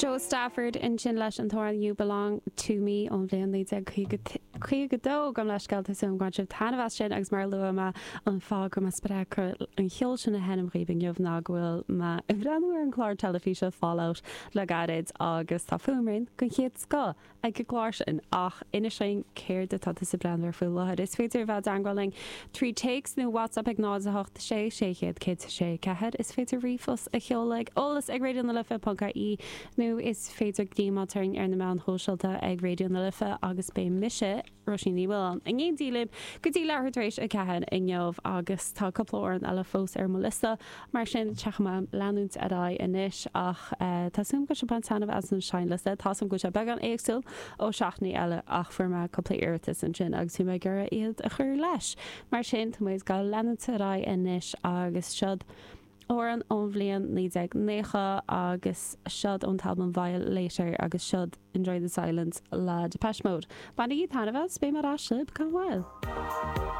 Jo Stafford ansin leis an t-amhrán You Belong To Me ón bhliain 1952. Gabh mo leithscéal, tá súil agam gur bhain sibh taitneamh as sin agus mar a luaigh mé an fáth go raibh mé spreagtha an cheol sin a sheinm dhaoibh inniu ná go bhfuil mé ag breathnú ar an chlár teilifíse Fallout le gairid agus tá fuaimrian den chéad scoth ag an gclár sin ach inis dúinn céard atá tusa ag breathnú air faoi láthair. Is féidir a bheith i dteangmháil linn trí téacs nó WhatsApp ag 0 8 6 600 106 4. Is féidir ríomhphost a sheoladh ag eolas ag Raidió na Life ponc ie nó is féidir gníomháil orainn ar na meáin shóisialta ag Raidió na Life agus beidh mise, Róisín Ní Mhaoláin, in éindí libh go dtí leathuair tar éis 4 inniu agus tá cúpla amhrán eile fós ar mo liosta, mar sin caithfidh mé leanúint ar aghaidh anois ach tá súil agam go bhfuil sibh ag baint taitneamh as an seinnliosta. Tá súil agam go bhfuil sé beagán éagsúil ó seachtainí eile ach fuair mé cúpla iarratas ansin agus bhí mé ag iarraidh iad a chur leis. Mar sin tá muid ag gabháil leanúint ar aghaidh anois agus seod amhrán ón bhliain 1990 agus seod ón t-albam Violator agus seod Enjoy the Silence le Depeche Mode. Bainigí taitneamh as, beidh mé ar ais libh gan mhoill.